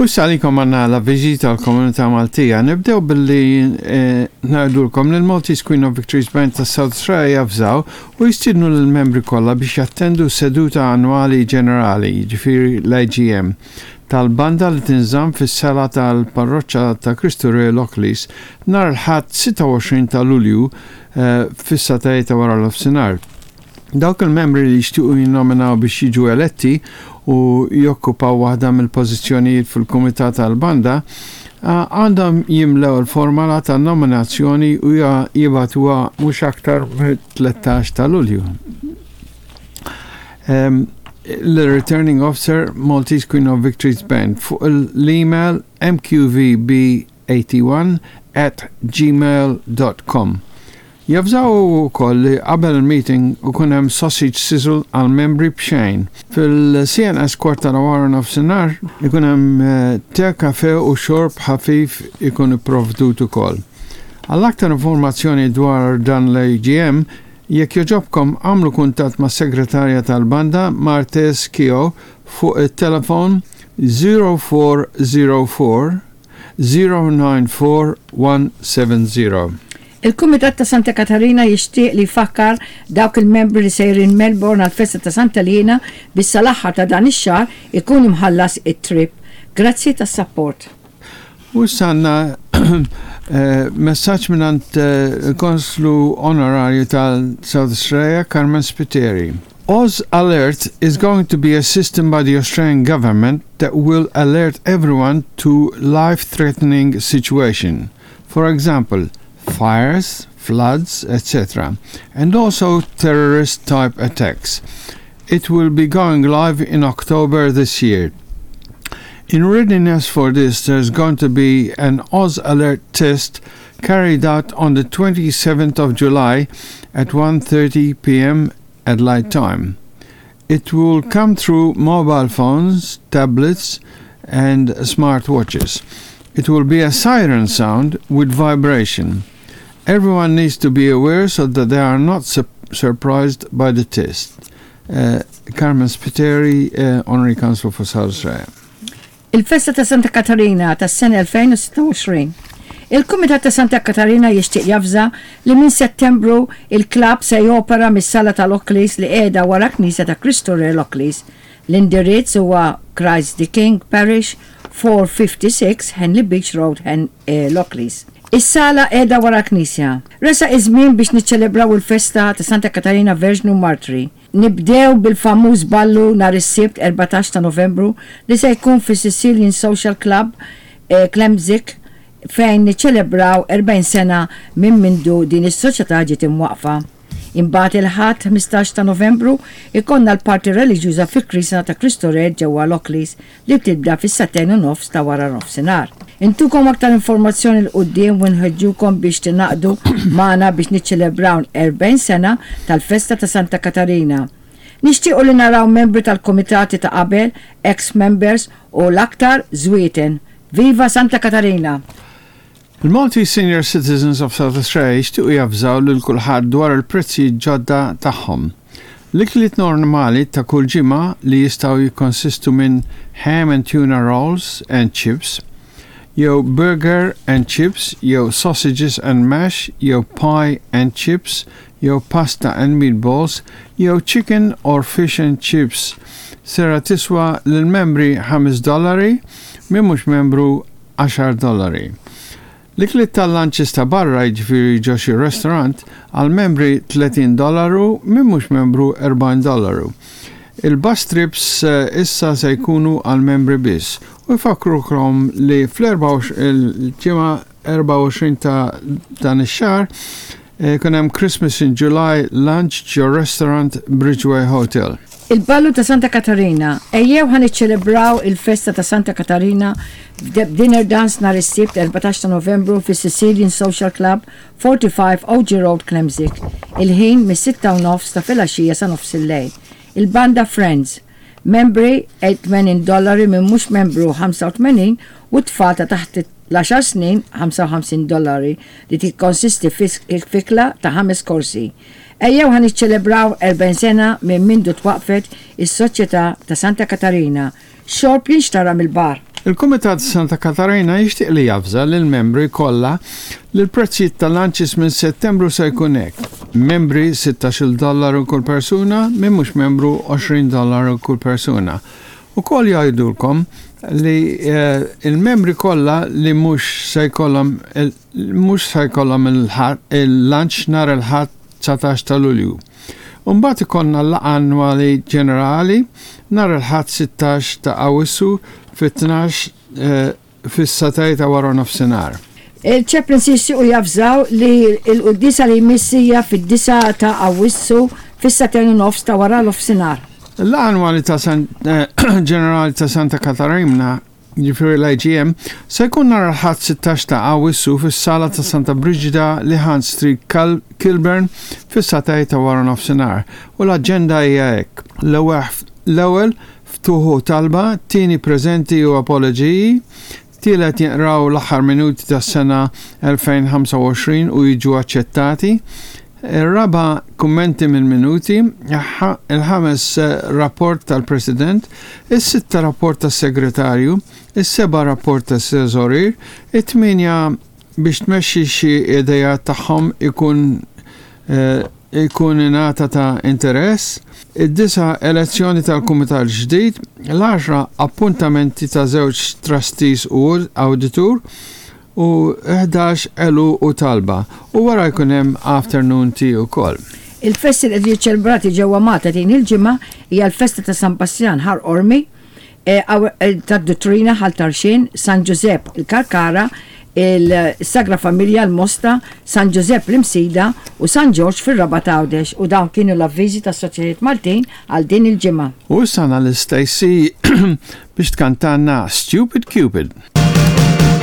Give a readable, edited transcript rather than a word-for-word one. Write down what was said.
U issa għalikom għandna l-avviżi tal-komunità Maltija. Nibdew billi eh, ngħidulkom li l-Maltese Queen of Victories Band ta' South Australia javżaw u jistiednu lill-membri kollha biex jattendu seduta annwali ġenerali, jiġifieri l-AGM, tal-banda li tinżamm fis-sala tal-Parroċċa ta' Kristu Re Lockleys nhar il-Ħadd 26 ta' Lulju eh, fis-sagħtej ta' wara nofsinhar. Dawk il-membri li jixtiequ jinnominaw biex jiġu eletti u jokkupaw waħda mill-pożizzjonijiet fil-kumitat tal-banda għandhom jimlew il-formola ta' nominazzjoni u jibagħtuha mhux aktar mit-13 ta' Lulju. L-Returning Officer Maltese Queen of Victories Band fuq l-email mqvb 81 at gmail dot com. Javżaw ukoll li qabel il-meeting ikun hemm sausage sizzle għall-membri b'xejn. Fil-CNS kwart ta' wara nofsinhar ikun hemm te, kafè u xorb ħafif ikun ipprovdut ukoll. Għal aktar informazzjoni dwar dan l-AGM, jekk jogħġobkom agħmlu kuntatt mas-segretarja tal-banda Marthese Keogh fuq it-telefon 0404 094 170. Il-Kumitat ta' Santa Katarina jixtieq li jfakkar dawk il-membri li sejrin Melbourne għall-festa ta' Santa Liena biex sal-aħħar ta' dan ix-xahar ikun imħallas it-trip. Grazzi tas-sapport. U issa għandna messaġġ mingħand il-Konslu Onorarju tal-South Australia, Carmen Spiteri. Oz Alert is going to be a system by the Australian government that will alert everyone to life-threatening situation. For example, fires, floods, etc. And also terrorist-type attacks. It will be going live in October this year. In readiness for this, there's going to be an Oz Alert test carried out on the 27th of July at 1.30 p.m. at light time. It will come through mobile phones, tablets, and smartwatches. It will be a siren sound with vibration. Everyone needs to be aware so that they are not su surprised by the test. Uh, Carmen Spiteri, uh, Honorary Council for South Australia. Il-Festa ta' Santa Katarina tas-sena 2026. Il-Kumitat ta' Santa Katarina jixtieq javża li minn Settembru il-klabb se jopera mis-sala tal-Oakleys li qiegħda wara Knisja ta' Kristu Re Lockleys. L-indirizz huwa Christ the King Parish, 456 Henley Beach Road, Lockleys. Is-sala qiegħda wara l-knisja. Resaq iż-żmien biex niċċelebraw il-festa ta' Santa Katarina Verġnu Martri. Nibdew bil-famuż ballu nhar is-Sibt 14 ta' Novembru li se jkun fis-Sicilian Social Club, Klemzig, fejn niċċelebraw 40 sena minn mindu din is-soċjetà ġiet imwaqqfa. Imbagħad il-Ħadd 15 ta' Novembru jkollna l-parti reliġjuża fil-Knisja ta' Kristu Re ġewwa Lockleys li tibda fis-sagħtejn u nofs ta' wara nofsinhar. Intukom aktar informazzjoni 'l quddiem u nħeġġukom biex tingħaqdu magħna biex niċċelebraw 40 sena tal-festa ta' Santa Katarina. Nixtiequ li naraw membri tal-kumitati ta' qabel, ex members u l-aktar Żwieten. Viva Santa Katarina! Il-Maltese Senior Citizens of South Australia jixtiequ javżaw lil kulħadd dwar il-prezzijiet ġodda tagħhom. L-ikliet normali ta' kull ġimgħa li jistgħu jikkonsistu minn ham and tuna rolls and chips, jew burger and chips jew sausages and mash jew pie and chips jew pasta and meatballs jew chicken or fish and chips sera tiswa lill-membri ħames dollari, min mhux membru għaxar dollari. L-ikliet tal-lunches ta' barra, jiġifieri ġo xi restaurant, għall-membri 30 dollaru, min mhux membru 40 dollaru. Il-bus trips issa se jkunu għall-membri biss u jfakkrukom li fl-ġimgħa 24 ta' dan ix-xahar Jkun hemm Christmas in July lunch ġo Restaurant Bridgeway Hotel. Il-Ballu ta' Santa Katarina, Ejjew ħa niċċelebraw il-festa ta' Santa Katarina b'dinner dance nhar is-Sibt 14 ta' Novembru fis-Sicilian Social Club, 45 OG Road, Klemzig. Il-ħin mis-sitta u nofs ta' filgħaxija sa nofsillejl. Il-Banda Friends. Membri 80 dollari min mhux membru 85 u t-tfal ta' taħt l-għaxar snin 55 dollari li tikkonsisti f'ikla ta' ħames korsi. Ejjew ħa niċċelebraw 40 sena minn mindu twaqqfet is-Soċjetà ta' Santa Katarina. Xorb jinxtara mill-bar. Il-Kumitat Santa Katarina jixtieq li javża lill-membri kollha li l-prezzijiet tal-lunches minn Settembru se jkun hekk. Membri 16-il dollaru kull persuna, min mhux membru 20 dollaru kull persuna. Ukoll jgħidulkom li eh, il-membri kollha li mhux se jkollhom mhux se jkollhom il-lunch nhar il-Ħadd 19 ta' Lulju. U mbagħad ikollna l-laqgħa annwali ġenerali nhar il-Ħadd 16 ta' Awwissu fit-tnax fis-sagħtej ta' wara nofsinhar. Il-chaplains jixtiequ javżaw li l-quddiesa li jmiss hija fid-disgħa ta' Awwissu fis-sagħtejn u nofs ta' wara nofsinhar. Il-laqgħa annwali ta' ġenerali ta' Santa Katarina jiġifieri l-IGM, se jkun nhar il-Ħadd 16 ta' Awwissu fis-Sala ta' Santa Briġida, Lihan Street, Kilburn, fis-sagħtej ta' waranofsinhar u l-aġenda hija hekk, l-ewwel ftuħ u talba, tieni preżenti u apoloġiji, tielet jinqraw l-aħħar minuti tas-sena 2025 u jiġu aċċettati, Ir-raba' kummenti mill-minuti, il-ħames rapport tal-President, is-sitta rapport tas-Segretarju, is-seba' rapport tas-Teżorier, it-tmienja biex tmexxi xi ideat tagħhom ikun ikun ingħata ta' interess, id-disa' elezzjoni tal-Kumitat ġdid, l-għaxra appuntamenti ta' żewġ trustees u awditur, u 11 għeluq u talba u wara jkun hemm afternoon tea ukoll. Il-festi li qed jiġu ċċelebrati ġewwa Malta din il-ġimgħa hija l-festa ta' San Bastjan Ħal Qormi, tad-Duttrina Ħal Tarxien, San Ġużepp il-Kalkara, il-Sagra Familja l-Mosta, San Ġużepp l-Imsida u San Ġorġ fir-Rabat Għawdex u dawn kienu l-avviżi tas-Soċjetajiet Maltin għal din il-ġimgħa. U issa għandna lil Stacey biex tkantalna Stupid Cupid.